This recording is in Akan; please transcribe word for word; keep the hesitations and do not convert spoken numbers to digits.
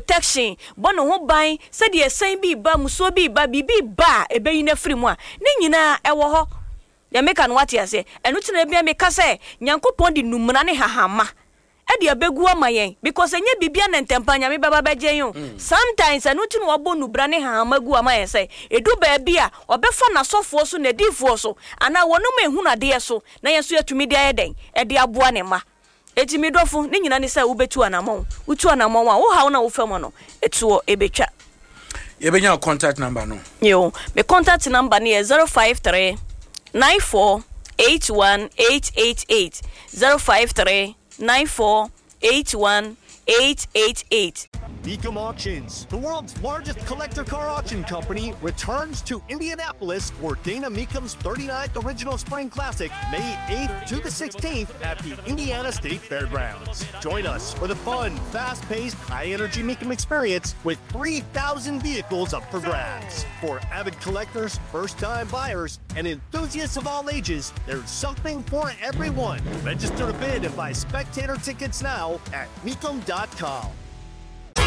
Protection bɔ ne ho ban sɛdeɛ ɛsɛn bi ba, musuo bi ba, biribi ba a ɛbɛyi no afiri mu a, ne nyinaa ɛwɔ hɔ. Deɛ meka no, wate aseɛ? Ɛno nti na ebia meka sɛ Nyankopɔn de numuna ne hahama ɛde abɛgu ama yɛn, because ɛnyɛ biribia na ntɛmpa Nyame bɛba bɛgye yɛn o. Sometimes ɛno nti na wabɔ nubra ne hahama gu ama yɛn sɛ ɛdu baabi a ɔbɛfa n'asɔfoɔ so, n'adiifoɔ so, anaa wɔnom ehunu adeɛ so, na yɛn nso yɛtumi de ayɛ dɛn ɛde aboa ne mma. Eti mi dɔfo, ne nyina ne sɛ wobɛtu anammɔn. Wotu anammɔn a, wo haw na wofa mu no, ɛtoɔ ɛbɛtwa. Yɛbɛnya wo contact number no. Yo, me contact number no yɛ zero five three nine four eight one eight eight eight, zero five three nine four eight one eight eight eight. Mecum Auctions, the world's largest collector car auction company, returns to Indianapolis for Dana Mecum's thirty-ninth Original Spring Classic, May eighth to the sixteenth at the Indiana State Fairgrounds. Join us for the fun, fast-paced, high-energy Mecum experience with three thousand vehicles up for grabs. For avid collectors, first-time buyers, and enthusiasts of all ages, there's something for everyone. Register to bid and buy spectator tickets now at Mecum dot com.